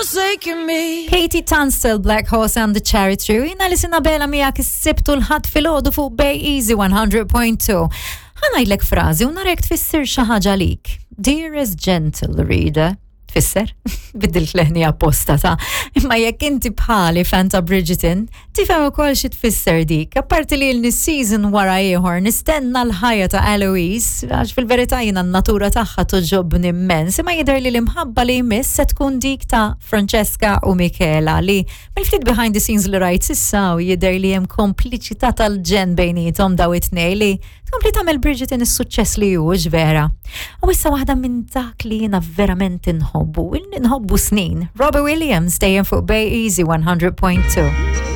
forsaken me. Katie Tunstall, Black Horse and the Cherry Tree. Jina li sina bela miegħek is-Sibt u l-Ħadd filgħodu fuq Bay Easy 100.2. Ħa ngħidlek frażi u narek tfisser xi ħaġa lik. Dearest gentle reader, tfisser? Biddilt leħni apposta ta' imma jekk inti bħali fan ta' Bridgerton, tifhem ukoll xi tfisser dik. Apparti li l season wara ieħor nistenna l-ħajja ta' Eloise, għax fil-verità jiena n-natura tagħha toġobni immens, imma jidher li l-imħabba li jmiss se tkun dik ta' Francesca u Michela li mill-ftit behind the scenes li rajt s'issa u jidher li hemm kompliċità tal-ġenn bejniethom daw it-tnej li tkompli tagħmel Bridgerton is-suċċess li hu vera. U issa waħda minn dak li jiena verament inħobbu, nħobbu snin. Robbie Williams dejjem fuq Bay Easy 100.2.